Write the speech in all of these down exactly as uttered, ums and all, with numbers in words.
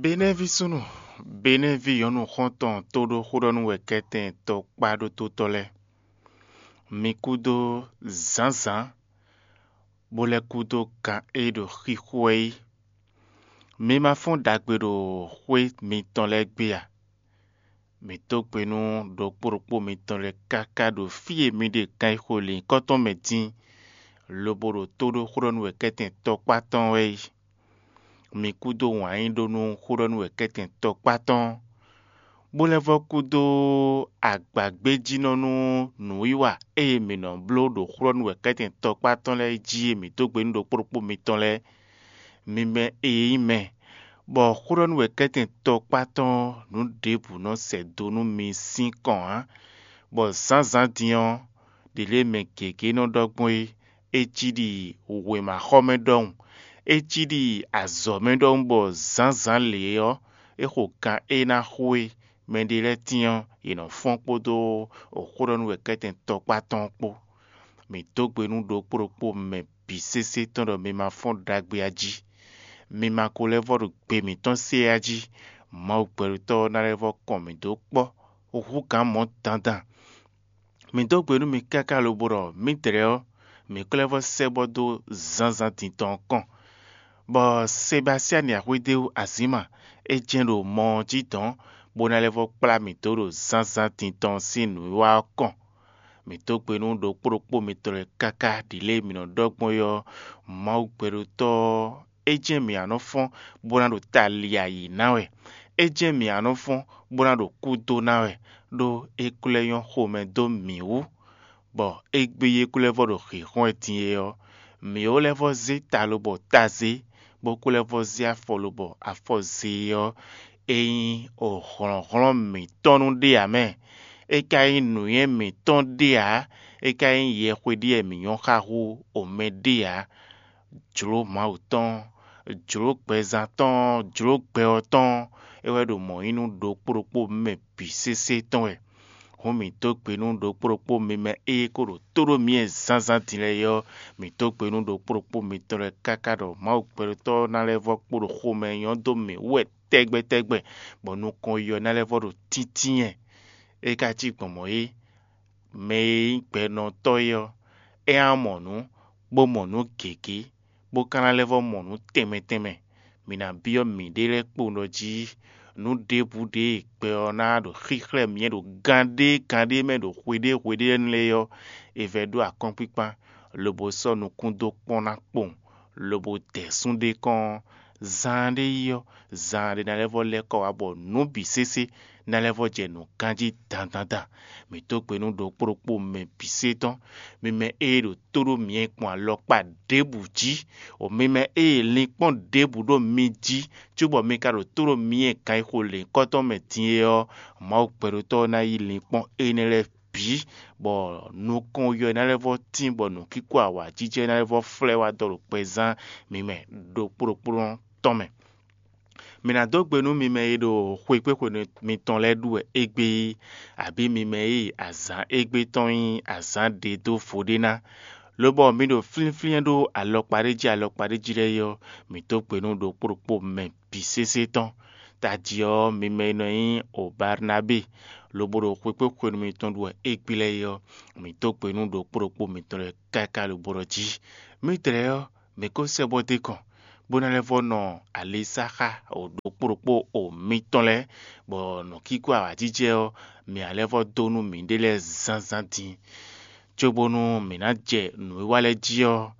Benɛ́ví súnnu, Benɛ́ví nyɔ̌nu xɔ́ntɔn tóɖó xóɖɔ́núwɛkɛ́tɛn tɔkpá ɖótótɔ́ lɛ́ɛ, mi kúdó zǎnzǎn, bó lɛ́ kúdó kan e ɖo xixo wɛ é. Mi ma fɔ́n ɖagbe ɖo xwé mitɔn lɛ́ɛ gbe a? Mǐ dó gbe nú ɖokpó ɖokpó mitɔn lɛ́ɛ káká ɖo fí e mi ɖe kan e xo lǐnkɔ́ tɔn mɛ din, lobo ɖo tó ɖó xóɖɔ́núwɛkɛ́tɛn tɔkpá tɔn wɛ é. Mi kúdó wǎn yí ɖó nú xóɖɔ́núwɛkɛ́tɛn tɔkpá tɔn, bó lɛ́ vɔ́ kúdó agbagbéjínɔ nú nǔwiwa e mǐ nɔ bló ɖo xóɖɔ́núwɛkɛ́tɛn tɔkpá tɔn lɛ́ɛ jí e mǐ dó gbe nú ɖokpó ɖokpó mitɔn lɛ́ɛ. Mi mɛ e nyí mɛ, bɔ xóɖɔ́núwɛkɛ́tɛn tɔkpá tɔn nǔ ɖěbǔ nɔ sɛ do nú mi sín kɔn ǎ, bɔ zǎnzǎn din ɔ́, ɖě lě mɛ gěgé nɔ ɖɔ gbɔn é, é cí ɖi wěmaxɔmɛ ɖɔhun, é cí ɖi azɔ̌mɛ ɖɔhun, bɔ zǎnzǎn lě ɔ́, é xo kan e ná xo é mɛɖé lɛ́ɛ tín ɔ́, yě nɔ fɔ́n kpódó xóɖɔ́núwɛkɛ́tɛn tɔkpá tɔn kpó. Mǐ dó gbe nú ɖokpó ɖokpó mɛ bǐ sésé tɔn ɖɔ mi ma fɔ́n ɖagbe a jí. Mi ma ko lɛ́ vɔ́ ɖo gbe mǐtɔn se a jí. Mawu gbɛɖutɔ́ ɔ́ ná lɛ́ vɔ́ kɔn mǐ dó kpɔ́ hú gǎn mɔ̌ dandan. Mǐ dó gbe nú mi káká lobo ɖɔ mǐdɛɛ ɔ́, mǐ ko lɛ́ vɔ́ sɛ́ bɔ dó zǎnzǎn din tɔn ɔ́ kɔn, bɔ Sebasiani axwédéwú Azǐma é jɛ́n ɖo mɔ ɔ́ jí dɔ̌n, bó ná lɛ́ vɔ́ kplá mǐ dó ɖo zǎnzǎn din tɔn sín nǔwiwa ɔ́ kɔn. Mǐ dó gbe nú ɖokpó ɖokpó mitɔn lɛ́ɛ káká ɖi lě e mǐ nɔ ɖɔ gbɔn é ɔ́, Mawu gbɛɖotɔ́ ɔ́, é jɛ́n mǐ a nɔ fɔ́n bó ná ɖo tali ayǐ ná wɛ; é jɛ́n mǐ a nɔ fɔ́n bó ná ɖo kú dó ná wɛ, ɖó é ko lɛ́ nyɔ́ xomɛ dó mǐ wú, bɔ égbé e é ko lɛ́ vɔ́ ɖo hǐnhɔ́n wɛ din é ɔ́, mǐ ó lɛ́ vɔ́ zé ta lobɔ ta zé, bó ko lɛ́ vɔ́ zé afɔ lobɔ afɔ zé é ɔ́, é nyí hlɔ̌nhlɔ́n mǐtɔn nú ɖé ǎ mɛ. É ka nyí nǔnywɛ́ mǐtɔn ɖé ǎ; é ka nyí yɛxwe ɖé wɛ mǐ nyɔ́ xa hú omɛ ɖé ǎ. Jlǒ Mawu tɔn, jlǒ gbɛzán tɔn, jlǒ gbɛ ɔ́ tɔn, é wɛ ɖo mɔ̌ nyí nú ɖokpó ɖokpó mɛ bǐ sésé tɔn wɛ. Hǔn mǐ dó gbe nú ɖokpó ɖokpó mi mɛ e ko ɖo tó ɖó mǐ wɛ zǎnzǎn din lɛ́ɛ é ɔ́, mǐ dó gbe nú ɖokpó ɖokpó mitɔn lɛ́ɛ káká ɖɔ Mawu gbɛɖotɔ́ ɔ́ ná lɛ́ vɔ́ kpo ɖo xomɛ nyɔ́ dó mǐ wú wɛ tɛgbɛ tɛgbɛ, bɔ nukɔn yi ɔ́ ná lɛ́ vɔ́ ɖo tíntín wɛ. É ka cí gbɔn mɔ̌ é, mɛ e nyí gbɛnɔtɔ́ é ɔ́, é ná mɔ nǔ, bó mɔ nǔ gěgé, bó ka ná lɛ́ vɔ́ mɔ nǔ tɛnmɛ tɛnmɛ. Mǐ ná byɔ́ mǐɖée lɛ́ɛ kpowun ɖɔ jí nǔ ɖěbǔ ɖě e gbɛ ɔ́ ná ɖo xíxlɛ́ mǐ ɖo gan ɖé gan ɖé mɛ ɖo hweɖée hweɖée énɛ́ lɛ́ɛ ɔ́, è vɛ́ ɖó akɔ́nkpíkpán, lobo sɔ́ nukún dó kpɔ́n ná kpowun, lobo dɛ sún ɖé kɔn ɔ́, zaanɖé yi ɔ́, zaanɖé ná lɛ́ vɔ́ lɛ́ kɔ wá bɔ nǔ bǐ sésé ná lɛ́ vɔ́ jɛ nǔ ganjí dandandan. Mǐ dó gbe nú ɖokpó ɖokpó mɛ bǐ sé tɔn, mi mɛ e ɖo tó ɖó myɛ kpɔn alɔkpa ɖěbǔ jí, o mi mɛ e linkpɔ́n ɖěbǔ ɖo mi jí, cóbɔ mi ka ɖo tó ɖó myɛ kan e xo lěnkɔ́tɔn mɛ din é ɔ́, Mawu gbɛɖotɔ́ ɔ́ ná yí linkpɔ́n énɛ́ lɛ́ɛ bǐ, bɔ nukɔn yɔ ná lɛ́ vɔ́ tín, bɔ nǔkíkó awǎjijɛ ná lɛ́ vɔ́ flɛ́ wá dɔ ɖo gbɛzán mi mɛ ɖokpó ɖokpó tɔn mɛ. Mi ná dó gbe nú mi mɛ e ɖo xwekpéxwe mitɔn lɛ́ɛ ɖu wɛ égbé é, abǐ mi mɛ e azǎn égbé tɔn nyí azǎn ɖě dó vo ɖé ná, lobɔ mi ɖo flínflín ɖó alɔkpa ɖé jí alɔkpa ɖé jí lɛ́ɛ é ɔ́, mi dó gbe nú ɖokpó ɖokpó mɛ bǐ sésé tɔn. Tají ɔ́, mi mɛ e nɔ nyí o Barnabée, lobo ɖo xwekpéxwenu mitɔn ɖu wɛ égbé lɛ́ɛ é ɔ́, mi dó gbe nú ɖokpó ɖokpó mitɔn lɛ́ɛ káká lobo ɖɔ jí: Mǐdɛɛ ɔ́, mǐ ko sɛ́ bɔ dó kɔn, bó ná lɛ́ vɔ́ nɔ alisáxa ɖokpó ɖokpó o mitɔn lɛ́ɛ, bɔ nǔkíkó awǎjijɛ ɔ́, mǐ ná lɛ́ vɔ́ dó nú mǐɖée lɛ́ɛ zǎnzǎn din. Cóbónú mǐ ná jɛ nǔwiwa lɛ́ɛ jí ɔ́,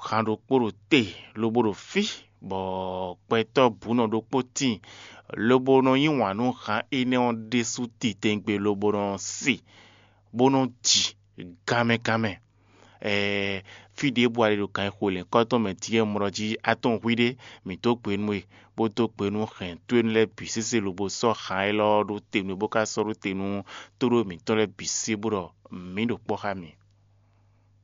han ɖokpó ɖo te lobo ɖo fí, bɔ gbɛtɔ́ bǔnɔ ɖokpó tíin, lobo nɔ yí wǎn nú han énɛ́ ɔ́ ɖésú titewungbe lobo nɔ se, bó nɔ́ ji ganmɛ ganmɛ. Ɛɛ, fí ɖěbǔ a ɖe ɖo kan e xo lɛ̌nkɔ́ tɔn mɛ dín e mlɔ jí atɔ́n hwíɖé, mǐ dó gbe nú we, bó dó gbe nú hɛ̌n towe lɛ́ɛ bǐ sésé lobo sɔ́ han élɔ́ ɔ́ ɖó te nú we, bó ka sɔ́ ɖó te nú tóɖó mǐtɔn lɛ́ɛ bǐ sésé, bó ɖɔ mǐ ɖo kpɔ́ xá mi.